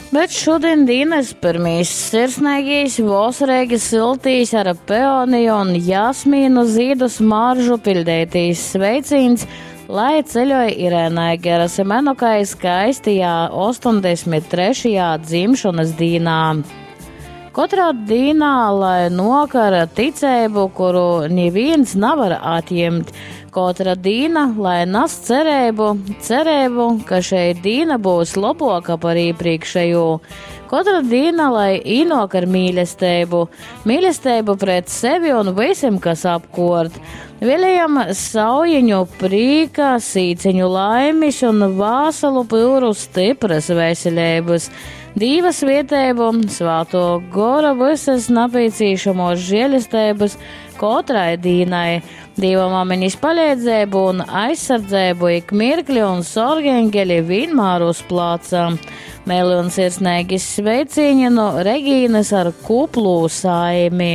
Bet šodien dienas pirmīs sirsnīgīs, vasarīgi siltīs ar peoniju un jasmīnu zīdu smaržu piļdētīs sveicīns, lai ceļoja Irēnai Gerasimenukai skaistajā 83. dzimšanas dīnā. Katrā dīnā, lai nokara ticību, kuru neviens nevar atņemt. Katra dīna, lai nes cerību, cerību, ka šeit dīna būs labāka par iepriekšējo. Katra dīna, lai īnok ar mīlestību, mīlestību pret sevi un visiem, kas apkort. Vēlējam saujiņu prīka, sīciņu laimis un vāsalu pyuru stipras veselības. Dīva svietēbu, svāto gora visas napīcīšamos žēlestības katrai dīnai, Dīva mamiņas palīdzību un aizsardzību ik mirkli un sorgeņģeli vienmēr uz placa. Mēli un sirsnīgi sveicīņi no Regīnas ar kuplu saimi.